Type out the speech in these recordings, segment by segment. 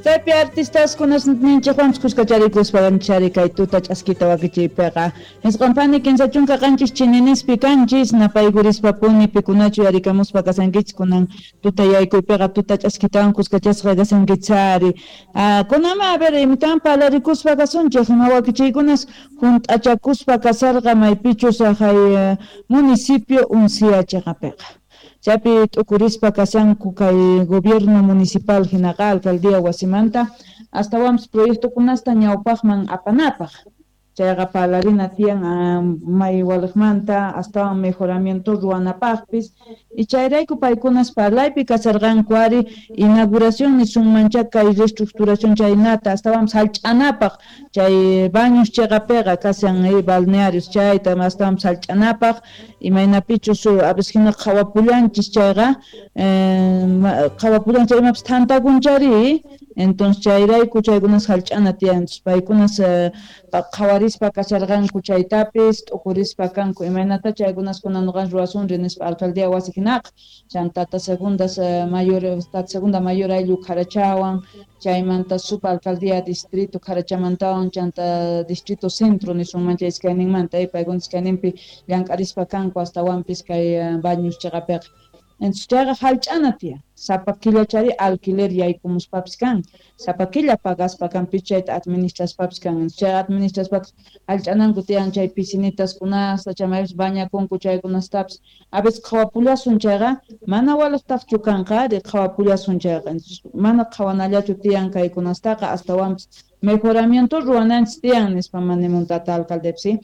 Chaypi artistaskunasninchikwanpis kuskacharikuspa chari kay tuta ch'askita wakichiypiqa. 9 pani 37 chininispi kanchis napaykurispa-puni pikunachu yarikamuspa kasankichis kunan tuta yaykuypiqa tuta ch'askitawan kuskachasqa kasankichari. Kunanma a ver imitawan parlarikuspa kasunchik ima wakichiykunas hunt'achakuspa kasarqa maypichus haqay municipio Uncía chiqapiqa. Chaypi t'ukurispa kashanku kay gobierno municipal hinaqa alcaldía wasimanta astawanpis proyectokunasta ñawpaqman apanapaq. Chayqa parlarina tiyan may waliqmanta astawan mejoramiento ruwanapaqpis y chayrayku paykunas parlaypi kasharqanku ari inauguración nisunmancha kay reestructuración chaynata astawanpis hallch'anapaq chay baños chiqapiqa kashan balnearios chayta astawanpis hallch'anapaq imaynapichus a veces hina qhawapullanchis chayqa qhawapullanchis imapis thantakunchari entonces chayrayku chaykunas hallch'ana tiyan paykunas qhawarispa kasharqanku chaytapis t'ukurispa kanku imaynata chaykunas kunan nuqanchis ruwasunri nispa alcaldía wasi hinaqa chanta tata segundas mayor tata segunda mayor ayllu Carachawan chaymanta supa alcaldía distrito Carachamantawan chanta distrito centro nisunman chay iskayninmanta paykuna iskayninpi llank'arispa kanku astawanpis kay baños chiqapiqa. Entonces chayqa hallch'ana tiyan sapa killachari alquiler yaykumuspapis kan sapa killa pagaspa kan chayta administraspapis kan chay administraspataq hallch'ananku tiyan chay piscinitaskunasta chaymaypis bañakunku chaykunastapis a veces qhawapullasun chayqa mana waliqtaqchu kanqa ari qhawapullasun chayqa mana qhawanallachu tiyan kaykunastaqa astawanpis mejoramiento ruwananchis tiyan nispa manimun tata alcaldepis.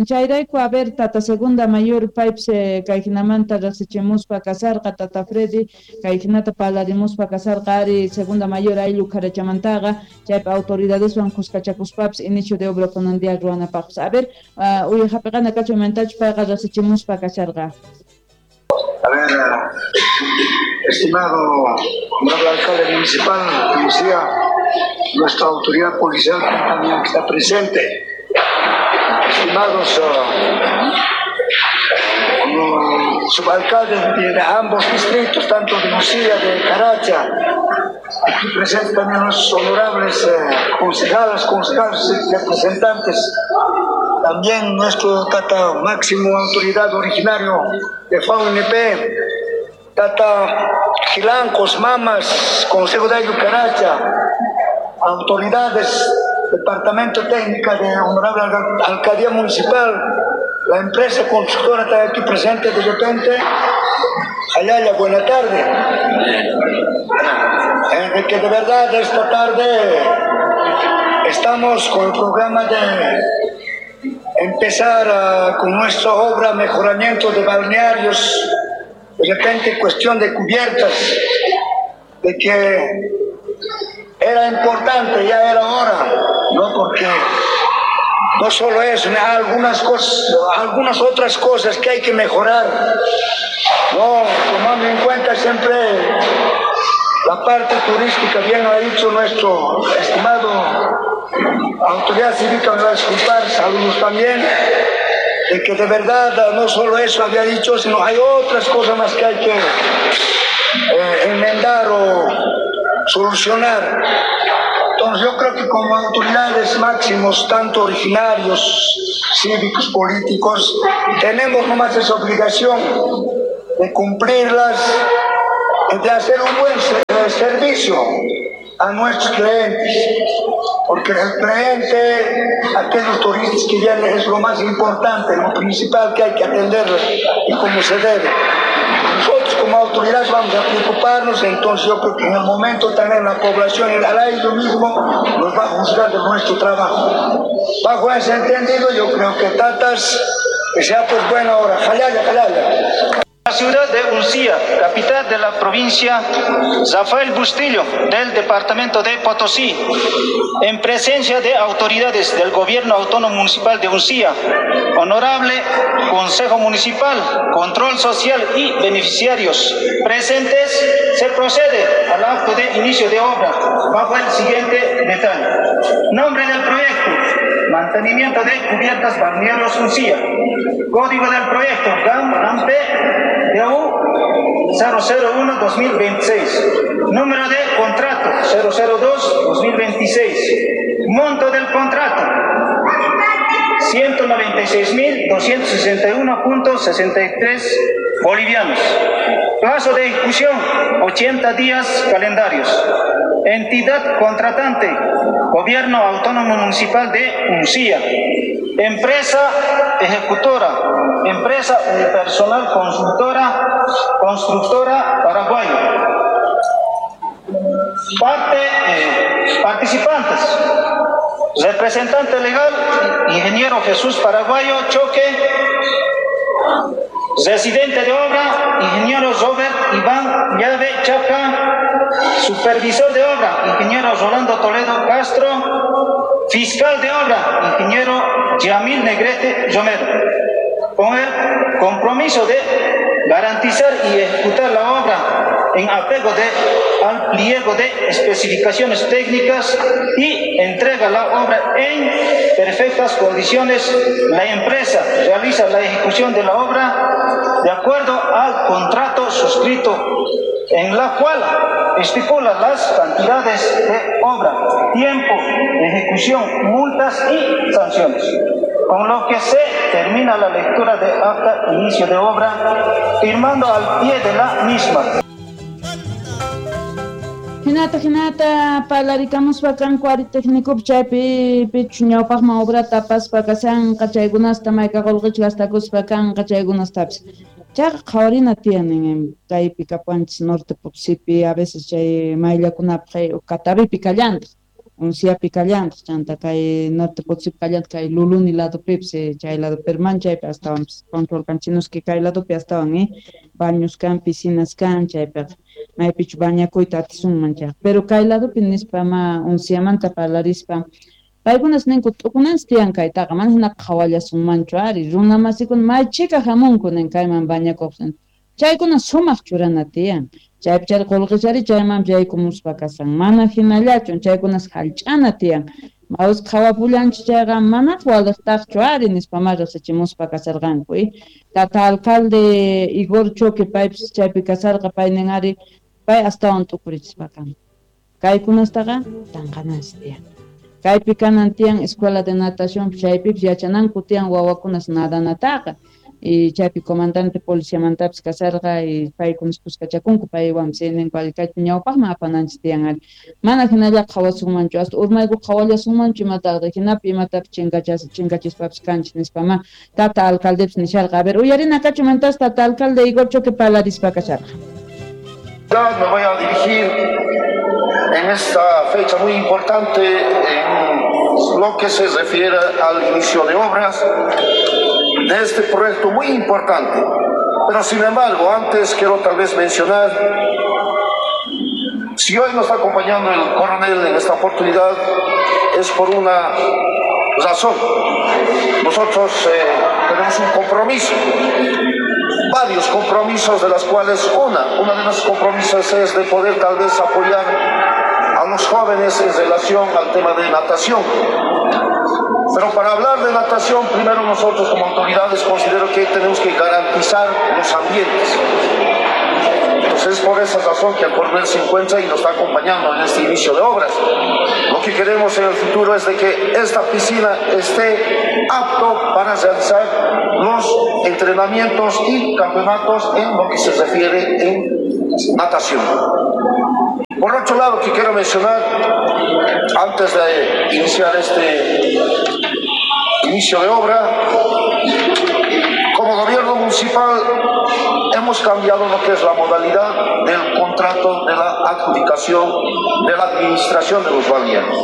Chayrayku a ver tata segunda mayor paypis kay hinamanta riqsichimuspa kasarqa tata Freddy kay hinata parlarimuspa kasarqa ari segunda mayor ayllu Carachamantaqa chaypi autoridadeswan kuskachakuspapis inicio de obra kunan día ruwanapaqpis. A ver uyajapiqana kachu imantachu payqa riqsichimuspa kasharqa. A ver, estimado honorable alcalde municipal, policía, nuestra autoridad policial también que está presente, estimados subalcaldes de ambos distritos, tanto de Uncía, de Caracha, aquí presentes también los honorables concejales, representantes, también nuestro tata máximo autoridad originario de FAUNP, tata Gilancos, Mamas, Consejo de Caracha, autoridades, Departamento Técnica de Honorable Alcaldía Municipal, la empresa constructora está aquí presente de repente. Ayaya, buena tarde. De que de verdad esta tarde estamos con el programa de empezar con nuestra obra mejoramiento de balnearios, de repente cuestión de cubiertas, de que era importante, ya era hora, ¿no? Porque no solo eso, algunas cosas, algunas otras cosas que hay que mejorar, ¿no? Tomando en cuenta siempre la parte turística, bien lo ha dicho nuestro estimado autoridad cívica, me va a disculpar, saludos también, de que de verdad no solo eso había dicho, sino hay otras cosas más que hay que enmendar o solucionar. Entonces yo creo que como autoridades máximos, tanto originarios, cívicos, políticos, tenemos nomás esa obligación de cumplirlas, de hacer un buen servicio a nuestros clientes, porque el cliente, aquellos turistas que vienen, es lo más importante, lo principal que hay que atenderlos y como se debe. Nosotros como autoridades vamos a preocuparnos, entonces yo creo que en el momento también la población, el aire mismo, nos va a juzgar de nuestro trabajo. Bajo ese entendido, yo creo que tatas, que sea pues buena hora. Jalaya, jalaya. La ciudad de Uncía, capital de la provincia Rafael Bustillo, del departamento de Potosí, en presencia de autoridades del Gobierno Autónomo Municipal de Uncía, Honorable Consejo Municipal, Control Social y beneficiarios presentes, se procede al acto de inicio de obra bajo el siguiente detalle. Nombre del proyecto: mantenimiento de cubiertas balnearios Uncía. Código del proyecto: GAM AMP DU 001-2026. Número de contrato 002-2026. Monto del contrato, 196.261.63 bolivianos. Plazo de ejecución, 80 días calendarios. Entidad contratante, Gobierno Autónomo Municipal de Uncía. Empresa ejecutora, Empresa Unipersonal Constructora, Constructora Paraguayo. Participantes, representante legal, ingeniero Jesús Paraguayo Choque, residente de obra, ingeniero Robert Iván Llave Chaca, supervisor de obra, ingeniero Rolando Toledo Castro, fiscal de obra, ingeniero Yamil Negrete Romero, con el compromiso de garantizar y ejecutar la obra en apego al pliego de especificaciones técnicas y entrega la obra en perfectas condiciones. La empresa realiza la ejecución de la obra de acuerdo al contrato suscrito, en la cual estipula las cantidades de obra, tiempo, ejecución, multas y sanciones. Con lo que se termina la lectura de acta inicio de obra, firmando al pie de la misma. Hinata, hinata, parlarikamuspa kanku ari técnico chaypi pichu ñawpaqman obrata apaspa kashanqa chaykunasta mayka qullqichu gastakuspa kanqa chaykunastapis. Chayqa qhawarina tiyan kaypi kapuanchis Norte Potosípi, a veces chay mayllakunapaq Catavipi kallantaq, Unciapi kallantaq, chanta kay Norte Potosípi kallantaq, kay Luluni ladopipis, chay lado Perman chaypi astawanpis control kanchinuski kay ladopi astawan, baños kan, piscinas kan, chaypiqa maypichu bañakuyta atisunman chayqa. Pero kay ladopi nispa ma Unciamanta parlarispa paykunas ninku t'ukunanchis tiyan kaytaqa, mana hinaqa qhawallasunmanchu ari, runa masikuna may chhika hamunku nin kayman bañakuq. Chaykuna sumaq churana tiyan, chaypi chari qullqichari chaymanpis yaykumuspa kasan, mana hinallachu chaykunas hallch'ana tiyan. Mawis qhawapullanchis chayqa manaq waliqtaqchu ari nispa ma riqsichimuspa kasarqanku. Tata alcalde Igor Choque paypis chaypi kasarqa, pay nin ari pay astawan t'ukurichispa kan. Kaykunastaqa tanqananchis tiyan. Kaypi kanan tiyan escuela de natación, chaypipis yachananku tiyan wawakunas nadanataqa. Y chaypi comandante policiamantapis kasarqa y paykunas kuskachakunku paywanpis ninku ari kaypi ñawpaqman apananchis tiyan ari. Mana hinalla qhawasunmanchu, hasta urmayku qhawallasunmanchu imataqta, hinapi imatapis chinkachispapis kanchis nispa ma tata alcaldepis nisharqa. A ver, uyarina kachumantas tata alcalde Igor Choque parlarispa kasharqa. Me voy a dirigir en esta fecha muy importante en lo que se refiere al inicio de obras de este proyecto muy importante. Pero sin embargo, antes quiero tal vez mencionar, si hoy nos está acompañando el coronel en esta oportunidad, es por una razón. Nosotros tenemos un compromiso, varios compromisos, de las cuales una de los compromisos es de poder tal vez apoyar a los jóvenes en relación al tema de natación. Pero para hablar de natación, primero nosotros como autoridades considero que tenemos que garantizar los ambientes. Entonces es por esa razón que el coronel se encuentra y nos está acompañando en este inicio de obras. Lo que queremos en el futuro es de que esta piscina esté apto para realizar los entrenamientos y campeonatos en lo que se refiere en natación. Por otro lado, que quiero mencionar, antes de iniciar este inicio de obra, como gobierno municipal hemos cambiado lo que es la modalidad del contrato de la adjudicación de la administración de los balnearios.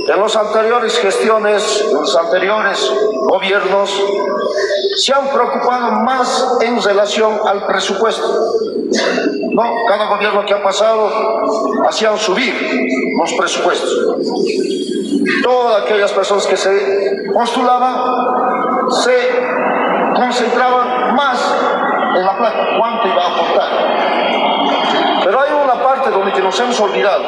En las anteriores gestiones, en los anteriores gobiernos, se han preocupado más en relación al presupuesto. No, cada gobierno que ha pasado hacían subir los presupuestos. Todas aquellas personas que se postulaban se concentraban más en la plata, cuánto iba a aportar. Pero hay una parte donde que nos hemos olvidado,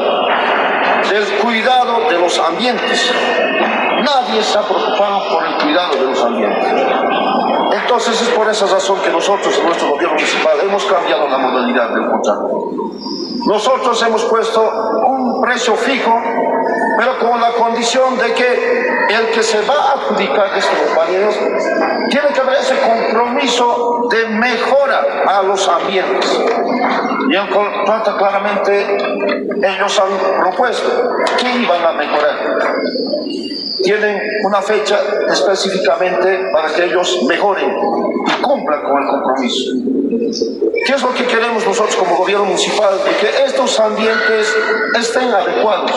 del cuidado de los ambientes. Nadie se ha preocupado por el cuidado de los ambientes. Entonces es por esa razón que nosotros en nuestro gobierno municipal hemos cambiado la modalidad del contrato. Nosotros hemos puesto un precio fijo, pero con la condición de que el que se va a adjudicar estos balnearios tiene que haber ese compromiso de mejora a los ambientes. Y en contrato claramente ellos han propuesto que iban a mejorar. Tienen una fecha específicamente para que ellos mejoren y cumplan con el compromiso. ¿Qué es lo que queremos nosotros como gobierno municipal? De que estos ambientes estén adecuados.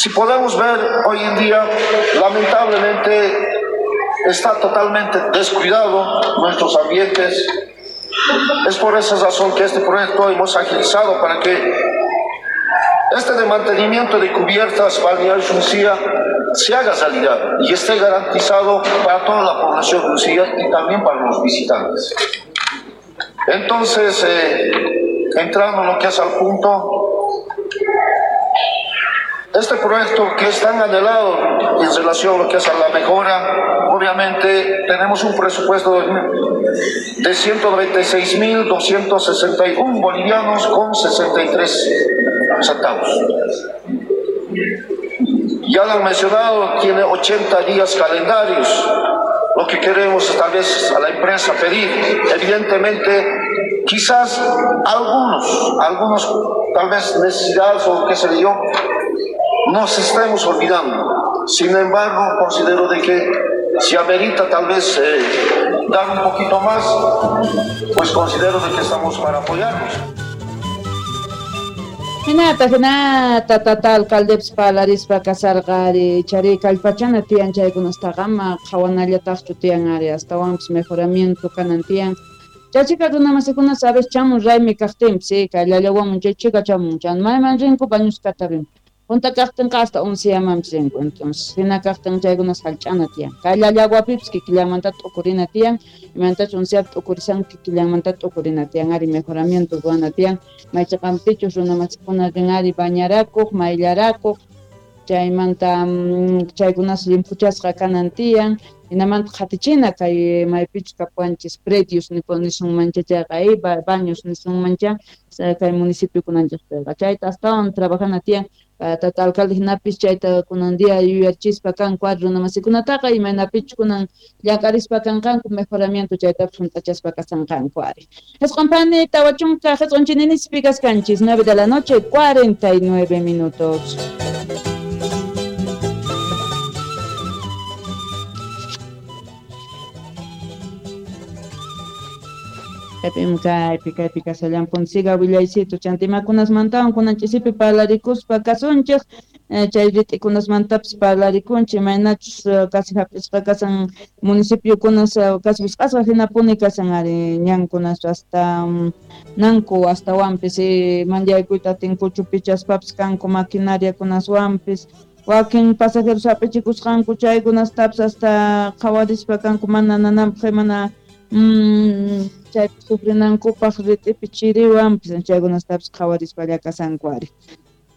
Si podemos ver hoy en día, lamentablemente está totalmente descuidado nuestros ambientes. Es por esa razón que este proyecto hemos agilizado para que este de mantenimiento de cubiertas balnearios Uncía se haga realidad y esté garantizado para toda la población de Uncía y también para los visitantes. Entonces, entrando en lo que es al punto, este proyecto que es tan anhelado en relación a lo que es a la mejora, obviamente tenemos un presupuesto de 196.261 bolivianos con 63 centavos. Ya lo han mencionado, tiene 80 días calendarios. Lo que queremos es tal vez a la empresa pedir, evidentemente, quizás algunos tal vez necesidades o qué sé yo, nos estemos olvidando. Sin embargo, considero de que si amerita tal vez dar un poquito más, pues considero de que estamos para apoyarnos. Hinata, tata, alcaldepis parlarispa kasarqari, chari kallpachana tiyan chaykunastaqama, qhawanallataqchu tiyan ari, astawanpis mejoramiento kanan tiyan. Chachika runamasikuna sabes chamun raymi kaqtinpis, kay llallawamun chay chika chamun, chan mayman rinku bañuskata rin. Junta kaqtinqa hasta Unciamanpis rinku, entonces hina kaqtin chaykunas hallch'ana tiyan. Kay llallaguapipis kikillanmanta t'ukurina tiyan, imantachus Unciapi t'ukurisan kikillanmanta t'ukurina tiyan, ari mejoramiento ruwana tiyan, maychaqanpichus runamasikuna rin ari bañarakuq, mayllarakuq, chaymanta chaykunas llimphuchasqa kanan tiyan, hinamanta qhatichina kay maypichus kapuwanchis predios nisunmancha chayqa baños nisunmancha kay municipio kunanchikpiqa chayta astawan trabajana tiyan. Tata alcalde hinapis chayta kunan día yuyarchispa kanku ari runamasikunataqa imaynapichus kunan llank'arispa kanqanku mejoramiento chaytapis hunt'achaspa kasanqanku ari. Jisq'unpani 40 jisq'un kaskanchis 9 de la noche 49 minutos. Kaypi kasallanpun siga willaycito chantimakunasmantawan kunanchisipi parlarikuspa kasunchik chay rit'ikunasmantapis parlarikunchik imaynachus kasi hap'isqa kasan municipiokunas kasi wisq'asqa hinapuni kasan ari ñankunas hasta nanku astawanpis manllaykuyta atinkuchu pichaspapis kanku maquinariakunaswanpis wakin pasajeros hap'ichikusqanku chaykunastapis hasta qhawarispa kanku mana nananpaq mana chaypi sufrinankupaq rit'ipi chiriwanpis chaykunastapis qhawarispalla kasanku ari.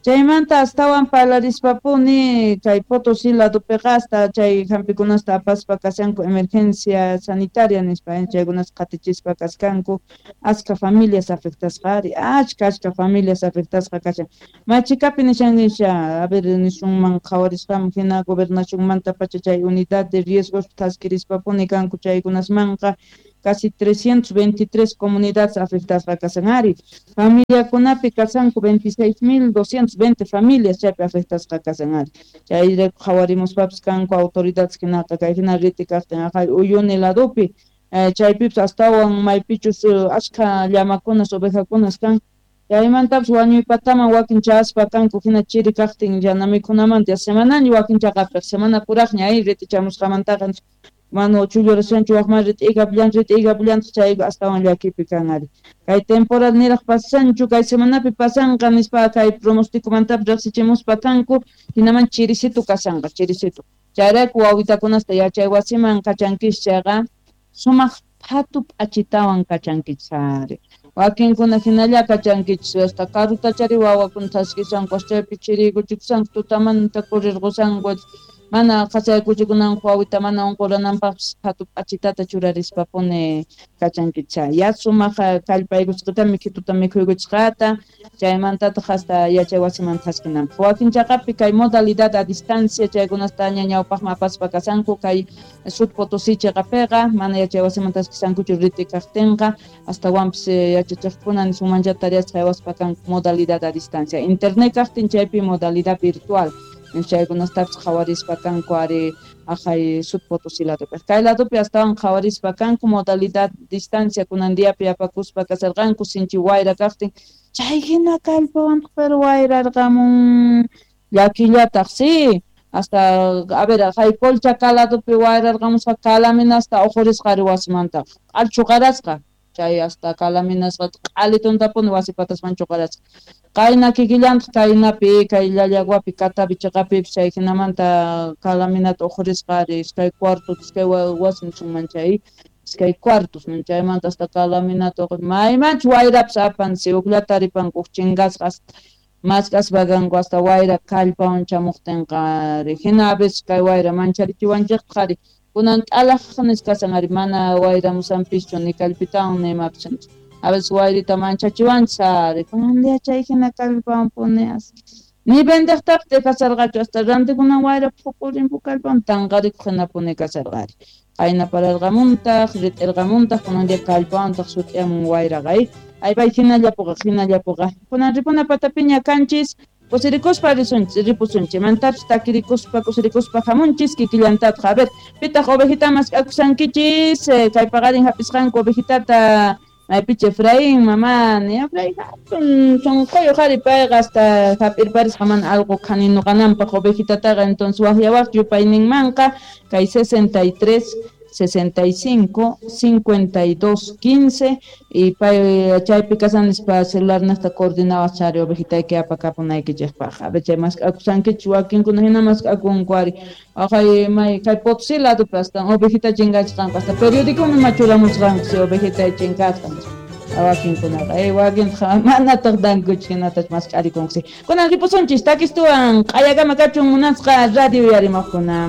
Chaymanta astawan parlarispapuni kay Potosí ladopiqa hasta chay hampikunasta apaspa kashanku emergencia sanitaria nispa chaykunas qatichispa kaskanku achka familias afectasqa ari achka familias afectasqa kashan machikapi nishan nisha a ver nisunman qhawarispaman hina gobernacionmanta pacha chay unidad de riesgos thaskirispapuni kanku chaykunasmanqa casi 323 comunidades afectadas kasan ari. Familiakunapi kasanku 26.220 familias chaypi afectadas kasan ari. Chayrayku qhawarimuspapis kanku autoridades hinaqa kay hina riti kaqtin aqay Uyuni ladopi chaypipis astawan maypichus achka llamakunas ovejakunas kan chaymantapis wañuypataman wakin chaspa kanku hina chiri kaqtin yana mikhunamanta semanaña wakin chaqapiq semana puraqña ay riti chamusqamantaqa mano chullurashanchu waqman rit'ikapllantaq chayqa astawan llakipi kan ari. Kay temporal niraq pasanchu kay semanapi pasanqa nispa kay pronosticomantapas riqsichimuspa kanku hinaman chirisitu kasanqa chirisitu. Chayrayku wawitakunasta yachay wasiman kachankichis chayqa sumaq phatu p'achitawan kachankichis ari. Wakinkuna hinalla kachankichis hasta karutachari wawakuna thaskisanku chaypi chiriykuchikushanku tutamanta kurirqusanku Mana qhasaykuchikunan wawita mana unqurananpaqpis qhatu p'achitata churarispapuni kachankicha. Ya sumaq kallpaykusqata mikhituta mikhuykuchqata chaymantataq hasta yachay wasiman thaskinanpaq. Wakin chaqapi kay modalidad a distancia chaykunasta ña ñawpaqman apaspa kasanku kay Sud Potosí chaqapiqa mana yachay wasiman thaskisankuchu riti kaqtinqa astawanpis yachachiqkuna nisunmancha tareas haywaspa kanku modalidad a distancia. Internet kaqtin chaypi modalidad virtual chaykunastapis qhawarispa kanku ari aqhay Sud Potosí ladopi. Kay ladopi astawan qhawarispa kanku modalidad distancia kunan diapi apakuspa kasarqanku sinchi wayra kaqtin chay hina kallpawantaq pero wayrarqamun llakillataq sí hasta a ver hay Colchaca ladopi wayrarqamusqa calaminasta uqurisqa ari wasimantaqa q'al chuqarasqa chay hasta calaminasqa q'alituntapuni wasi patasman chuqarasqa. Qayna kikillantaq kaynapi kay Llallaguapi Catavi chaqapipis chay hinamanta calaminata uqurisqa ari iskay cuarto iskay wasi nisunman chay iskay cuartos chaymanta hasta calaminata maymanchu wayrapis apan si ukllata ripanku uj chinkasqa hasta mask'aspa kanku hasta wayra kallpawan chamuqtinqa ari hina a veces kay wayra mancharichiwanchiktaj ari kunan t'alaq nisqasan ari mana wayramusanpischu ni kallpitawan ni imapis a veces wayrita manchachiwanchis ari kunan día chay hina kallpawan puni ni vendeqtapis dejasarqachu hasta rantikunan wayra phukurinpu kallpawan tanqarikuq hinapuni kasarqa ari qayna pararqamuntaq rit'irqamuntaq kunan día kallpawantaq sut'iyamun wayraqa aypay hinallapuqa kunan ripuna patapiña kanchis kusirikuspa risunchis ripusunchis mantapis takirikuspa kusirikuspa hamunchis kikillantataq a ver pitaq ovejita mask'akusankichis kay paqarin hap'isqanku ovejitata maypicha Efraín mamá ni Efraín hatun sunquyuq ari payqa hasta hap'irparisqa mana allqu khaninuqananpaq ovejitataqa entonces waqyawaq yupayninmanqa kay 63 65 52 15 y pay chaypi kasan nispa celular naqta coordinawaq chari ovejitayki apakapunaykichikpaq a ver chay mask'akusankichis wakinkuna hina mask'akunku ari aqhay may kay Potosí ladopi hasta ovejita chinkachisqanku hasta periodicoman ima churamusqanku si ovejita chinkasqa wakinkunaqa wakintaq manataq dankuchu hinatach mask'arikunku kunan ripusunchis takistuwan q'ayakama kachun munasqa radio yarimaqkuna.